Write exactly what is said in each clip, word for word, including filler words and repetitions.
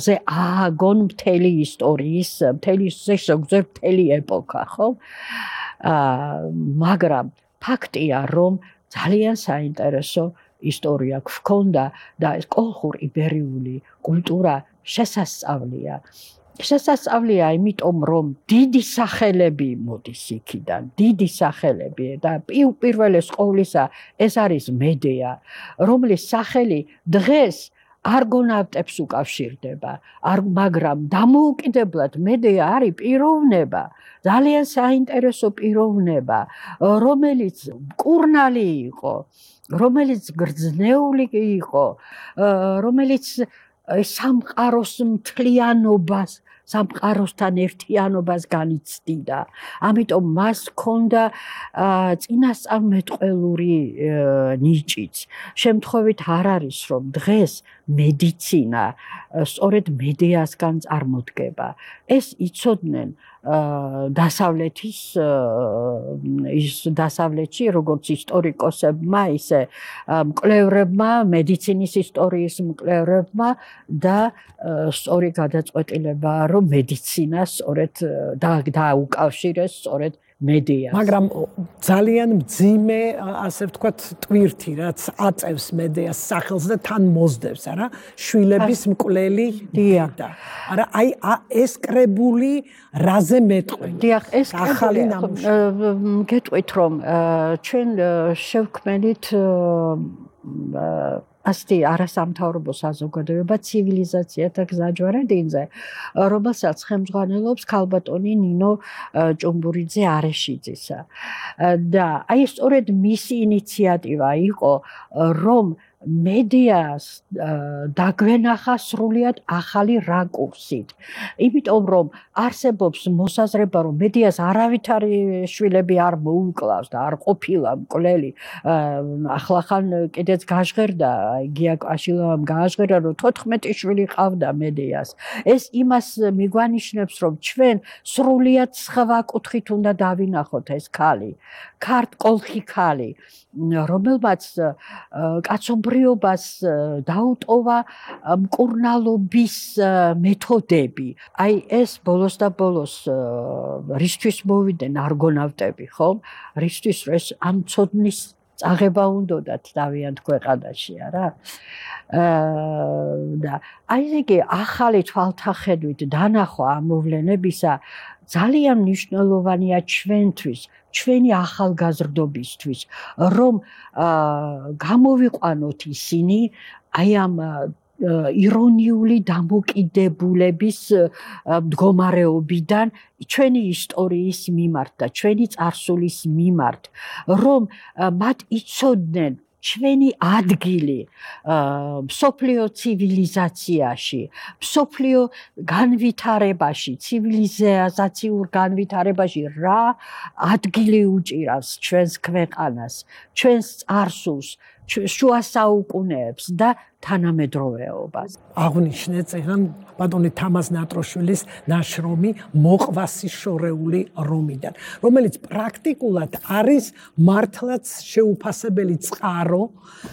ზე ააგონ მთელი ისტორიის, მთელი ზოგადად მთელი ეპოქა, ხო? მაგრამ ფაქტია, რომ ძალიან საინტერესო ისტორია გვქონდა და ეს კოლხურ-იბერიული კულტურა შესასწავლია. შესასწავლია, იმიტომ რომ დიდი სახელები მოდის იქიდან, დიდი სახელები და პირველეს ყოვლისა ეს არის მედეა, რომლის სახელი დღეს არგონავტებს უკავშირდება, მაგრამ დამოუკიდებლად მედეა არის პიროვნება, ძალიან საინტერესო პიროვნება, რომელიც მკურნალი იყო, რომელიც გრძნეული იყო, რომელიც სამყაროს მთლიანობას, სამყაროსთან ერთიანობას განიცდიდა. ამიტომ მას ჰქონდა წინასწარმეტყველური ნიჭიც. შემთხვევით არ არის, რომ დღეს მედიცინა სწორედ მედეასგან წარმოდგება. ეს იცოდნენ დასავლეთის ის დასავლეთში, როგორც ისტორიკოსებმა, ისე მკვლევრებმა, მედიცინის ისტორიის მკვლევრებმა და სწორი გადაწყვეტილებაა, რომ მედიცინა სწორედ დაუკავშირეს სწორედ მედეას. მაგრამ ძალიან მძიმე, ასე ვთქვათ, ტვირთი, რაც აწევს მედეას სახელს და თან მოსდევს, არა? შვილების მკვლელი დედა. არა, აი ეს კრებული რაზე მეტყვი? დიახ, ეს ახალი ნამუშევარი. გეტყვით, რომ ჩვენ შევქმნით ასეთი არასამთავრობო საზოგადოება ცივილიზაციათა გზაჯვარედინზე, რომელსაც ხელმძღვანელობს ქალბატონი ნინო ჭუმბურიძე არეშიძისა. და აი სწორედ მისი ინიციატივა იყო, რომ მედეას დაგვენახა სრულიად ახალი რაკურსით. იმიტომ რომ არსებობს მოსაზრება, რომ მედეას არავითარი შვილები არ მოუკლავს და არ ყოფილა მკვლელი. ახლახან კიდეც გაჟღერდა, გია კვაშილოვამ გააჟღერა, რომ თოთხმეტი შვილი ყავდა მედეას. ეს იმას მიგვანიშნებს, რომ ჩვენ სრულიად სხვა კუთხით უნდა დავინახოთ ეს ქალი. ქართ კოლხი ქალი, რომელმაც კაცობრიობას დაუტოვა მკურნალობის მეთოდები. აი ეს ბოლოს და ბოლოს რისთვის მოვიდნენ არგონავტები, ხო? რისთვის ეს ამ ცოდნის წაღება უნდათ დავიანთ ქვეყანაში, არა? და აი იგი ახალი თვალთახედვით დანახვა ამ მოვლენებისა ძალიან მნიშვნელოვანია ჩვენთვის, ჩვენი ახალგაზრდობისთვის, რომ გამოვიყვანოთ ისინი აი ამ ირონიული დამოკიდებულების მდგომარეობიდან ჩვენი ისტორიის მიმართ და ჩვენი წარსულის მიმართ, რომ მათ იცოდნენ ჩვენი ადგილი მსოფლიო ცივილიზაციაში, მსოფლიო განვითარებაში, ცივილიზაციურ განვითარებაში რა ადგილი უჭირავს ჩვენს ქვეყანას, ჩვენს წარსულს, შუა საუკუნეებს და თანამედროვეობას. აღნიშნე წეგან ბატონი თამაზ ნატროშვილის ნაშრომი მოყვასი შორეული რომიდან, რომელიც პრაქტიკულად არის მართლაც შეუფასებელი წყარო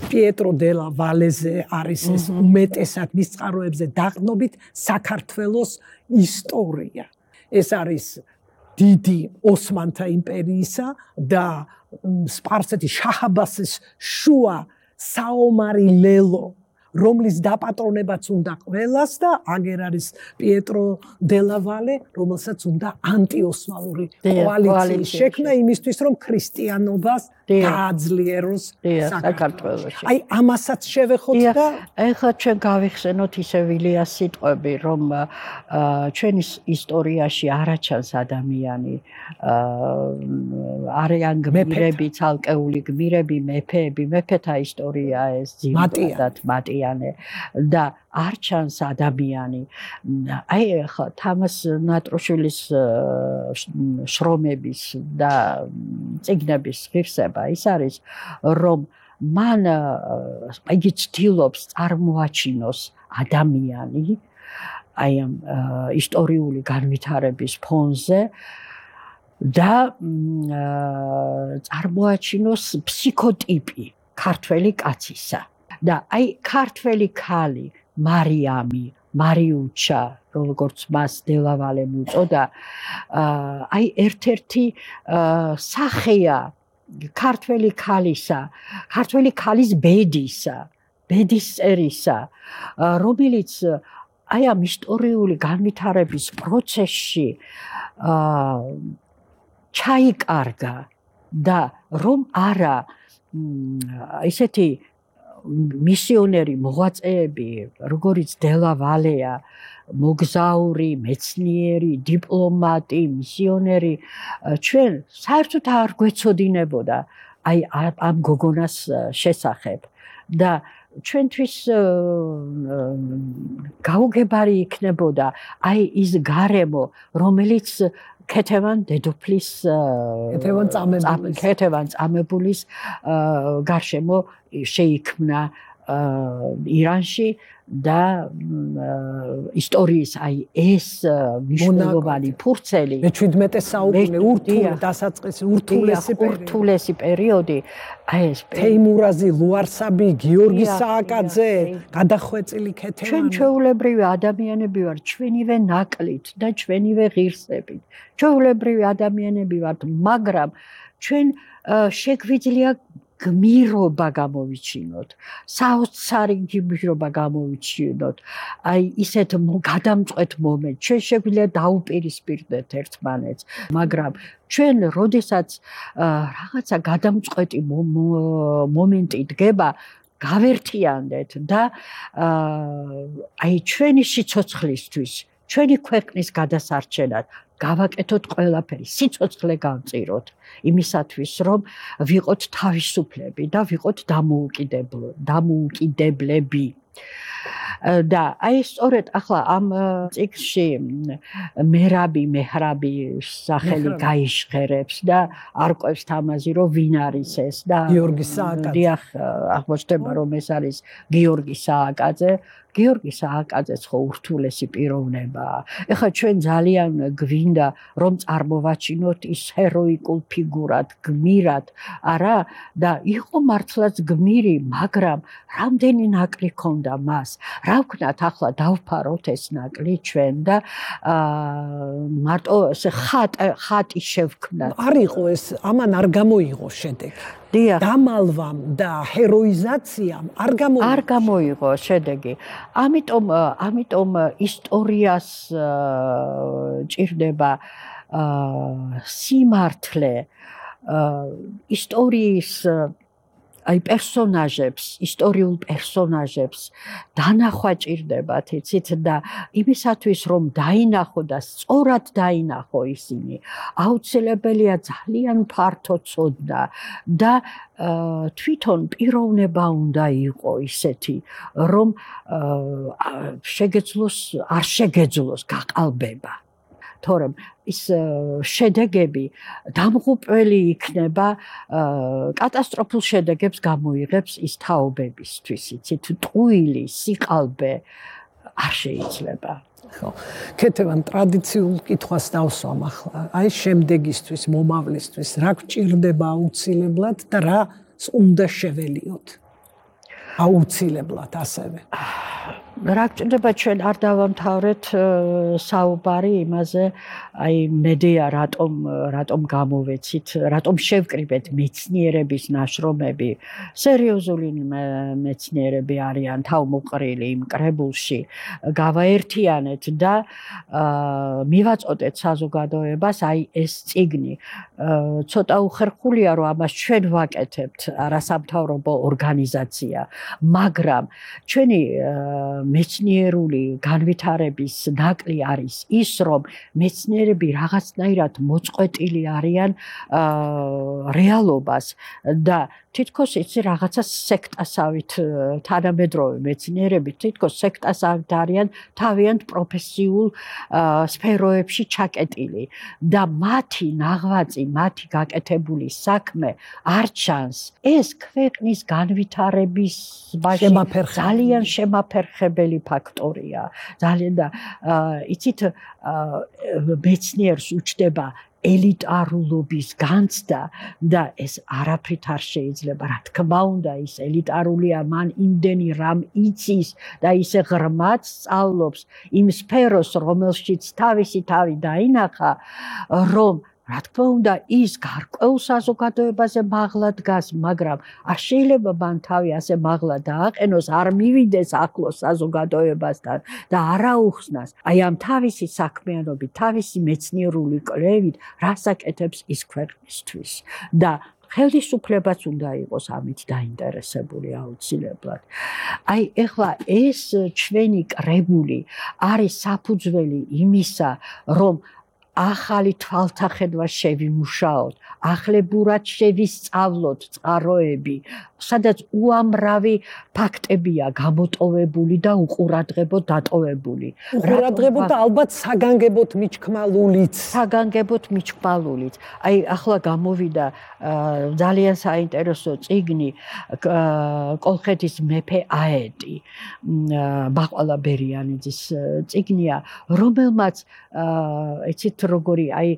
პიეტრო დელა ვალეზე არის ეს უმეტესად მის წყაროებზე დაყრდნობით საქართველოს ისტორია. ეს არის დიდი ოსმანთა იმპერიისა და სპარსეთის შაჰ-აბასის შუა საომარი ლელო, რომლის დაპატრონებაც უნდა ყველას და აგერ არის პიეტრო დელა ვალე, რომელსაც უნდა ანტიოსმალური კოალიციის შექმნა იმისთვის, რომ ქრისტიანობას გააძლიეროს საქართველოში. აი ამასაც შევეხოთ და ეხლა ჩვენ გავიხსენოთ ისე ვილიას სიტყვები, რომ ჩვენი ისტორიაში არაჩანს ადამიანი, არიან გმირები, ცალკეული გმირები, მეფეები, მეფეთა ისტორია ეს ძირითადად მატიანე და არ ჩანს ადამიანი. აი ახლა თამაზ ნატროშვილის შრომების და წიგნების ღირსება ის არის, რომ მან იგი ცდილობს წარმოაჩინოს ადამიანი აი ამ ისტორიული განვითარების ფონზე და წარმოაჩინოს ფსიქოტიპი ქართველი კაცისა. და აი ქართველი ქალი მარიამი, მარიუჩა, როგორც მას დელავალემ უწოდა, აი ერთ-ერთი სახეა ქართველი ქალისა, ქართველი ქალის ბედისა, ბედის წერისა, რომელიც აი ამ ისტორიული განვითარების პროცესში ჩაიკარგა და რომ არა ისეთი მისიონერი მოღვაწეები, როგორიც დელა ვალეა, მოგზაური, მეცნიერი, დიპლომატი, მისიონერი, ჩვენ საერთოდ არ გვეცოდინებოდა აი ამ გოგონას შესახებ და ჩვენთვის გაუგებარი იქნებოდა აი ის გარემო, რომელიც ქეთევან დედოფლის ქეთევან წამებულის ქეთევან წამებულის გარშემო შეიქმნა ირანში და ისტორიის აი ეს მნიშვნელოვანი ფურცელი მეჩვიდმეტე საუკუნე ურთულე დასაწყისი ურთულესი ურთულესი პერიოდი აი ეს თეიმურაზი, ლუარსაბი, გიორგი სააკაძე, გადახვეწილი ქეთევანი ჩვენ ჩვეულებრივი ადამიანები ვართ, ჩვენივე ნაკლით და ჩვენივე ღირსებით. ჩვეულებრივი ადამიანები ვართ, მაგრამ ჩვენ შეგვიძლია გმირობა გამოვიჩინოთ, საოცარი გმირობა გამოვიჩინოთ, აი ისეთ გადამწყვეტ მომენტს, ჩვენ შეგვიძლია დაუპირისპირდეთ ერთმანეთს, მაგრამ ჩვენ როდესაც რაღაცა გადამწყვეტი მომენტი დგება, გავერთიანდეთ და აი ჩვენი სიცოცხლისთვის, ჩვენი ქვეყნის გადასარჩენად გავაკეთოთ ყველაფერი, სიცოცხლე გავწიროთ იმისათვის, რომ ვიყოთ თავისუფლები და ვიყოთ დამოუკიდებლები. და აი სწორედ ახლა ამ წიგნში მერაბი მეჰრაბი სახელი გაიშღერებს და არკვევს თამაზი, რომ ვინ არის ეს და გიორგი სააკაძე. დიახ, აღმოჩნდება, რომ ეს არის გიორგი სააკაძე. გიორგი სააკაძეც ხო ურთულესი პიროვნებაა. ეხლა ჩვენ ძალიან გვინდა რომ წარმოვაჩინოთ ის ჰეროიკულ ფიგურად, გმირად, არა და იყო მართლაც გმირი, მაგრამ რამდენი ნაკლი ჰქონდა მას. რა ვქნათ ახლა დავფაროთ ეს ნაკლი ჩვენ და მარტო ეს ხატი შევქმნათ. არ იყო ეს, ამან არ გამოიღო შედეგი. დამალვამ და ჰეროიზაციამ არ გამოიღო. არ გამოიღო შედეგი. ამიტომ ამიტომ ისტორიას ჭირდება სიმართლე, ისტორიის აი პერსონაჟებს, ისტორიულ პერსონაჟებს დანახვა ჭირდებათ, იცით და იმისათვის რომ დაინახო და სწორად დაინახო ისინი, აუცილებელია ძალიან ფართო ცოდნა და თვითონ პიროვნება უნდა იყო ისეთი, რომ შეგეძლოს, არ შეგეძლოს გაყალბება. თორემ ის შედეგები დამღუპველი იქნება, კატასტროფულ შედეგებს გამოიღებს ის თაობებისთვის, იცით, ტყუილი, სიყალბე არ შეიძლება. ხო, ქეთევან ტრადიციულ კითხვას დავსვამ ახლა. აი შემდეგისთვის, მომავლისთვის, რა გჭირდება აუცილებლად და რა უნდა შეველიოთ? აუცილებლად ასევე. რა გჭირდება ჩვენ არ დავამთავრეთ საუბარი იმაზე, აი მედია რატომ რატომ გამოვეცით, რატომ შევკრიბეთ მეცნიერების ნაშრომები, სერიოზული მეცნიერები არიან თავმოყრილი იმ კრებულში, გავაერთიანეთ და მივაწოდეთ საზოგადოებას აი ეს წიგნი. ცოტა უხერხულია რომ ამას ჩვენ ვაკეთებთ არასამთავრობო ორგანიზაცია, მაგრამ ჩვენი მეცნიერული განვითარების ნაკლი არის ის, რომ მეცნიერები რაღაცნაირად მოწყვეტილი არიან რეალობას და თითქოს იცი რაღაცა სექტასავით თანამედროვე მეცნიერები თითქოს სექტასავით არიან თავიანთ პროფესიულ სფეროებში ჩაკეტილი და მათი ნაღვაწი, მათი გაკეთებული საქმე არ ჩანს. ეს ქვეყნის განვითარების ძალიან შემაფერხებელი ფაქტორია. ძალიან და იცით მეცნიერს უჩნდება ელიტარულობის განცდა და ეს არაფრით არ შეიძლება. რა თქმა უნდა, ის ელიტარულია, მან იმდენი რამ იცის და ისე ღრმად სწავლობს იმ სფეროს, რომელშიც თავისი თავი დაინახა, რომ რა თქმა უნდა, ის გარკვეულ საზოგადოებაზე მაღლა დგას, მაგრამ არ შეიძლება მან თავი ასე მაღლა დააყენოს, არ მივიდეს ახლოს საზოგადოებასთან და არ აუხსნას. აი ამ თავისი საქმიანობით, თავისი მეცნიერული კვლევით, რას აკეთებს ის ქვეყნისთვის და ხელისუფლებაც უნდა იყოს ამით დაინტერესებული აუცილებლად. აი ეხლა ეს ჩვენი კრებული არის საფუძველი იმისა, რომ ახალი თვალთახედვა შევიმუშაოთ, ახლებურად შევისწავლოთ წყაროები, სადაც უამრავი ფაქტებია გამოტოვებული და უყურადღებოდ დატოვებული. უყურადღებოდ და ალბათ საგანგებოდ მიჩქმალულიც. საგანგებოდ მიჩქმალულიც. აი ახლა გამოვიდა ძალიან საინტერესო წიგნი კოლხეთის მეფე აეტი, ბაყვალა ბერიანიძის წიგნია, რომელმაც იცით როგორი აი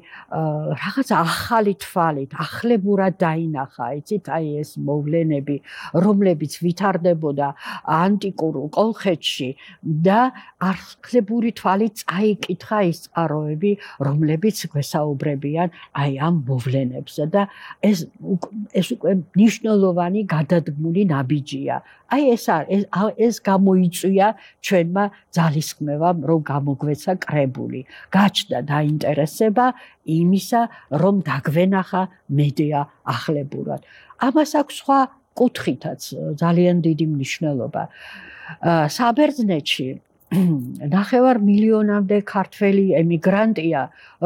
რაღაც ახალი თვალით, ახლებურად დაინახა, იცით აი ეს მოვლენები, რომლებიც ვითარდებოდა ანტიკურ კოლხეთში და ახლებური თვალით წაიკითხა ის წყაროები, რომლებიც გვესაუბრებიან აი ამ მოვლენებზე და ეს ეს უკვე მნიშვნელოვანი გადადგმული ნაბიჯია. აი ეს ეს გამოიწვია ჩვენმა ძალისხმევამ, რომ გამოგვეცა კრებული. გაჩნდა დაინტერესება იმისა, რომ დაგვენახა მედია ახლებურად. ამას აქვს სხვა კუთხითაც ძალიან დიდი მნიშვნელობა. საბერძნეთში ნახევარ მილიონამდე ქართველი ემიგრანტია,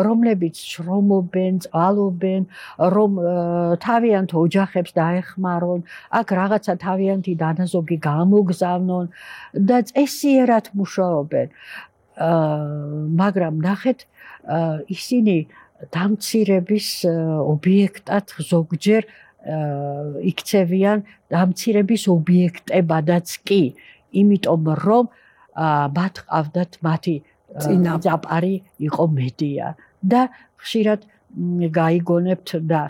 რომლებიც შრომობენ, წყალობენ, რომ თავიანთ ოჯახებს დაეხმარონ, აქ რაღაცა თავიანთი დანაზოგი გამოგზავნონ და წესიერად მუშაობენ. მაგრამ ნახეთ, ისინი დამცირების ობიექტად ზოგჯერ იქცევიან დამცირების ობიექტებადაც კი, იმიტომ რომ მათ ყავდათ მათი წინაპარი იყო მედია და ხშირად გაიგონებთ და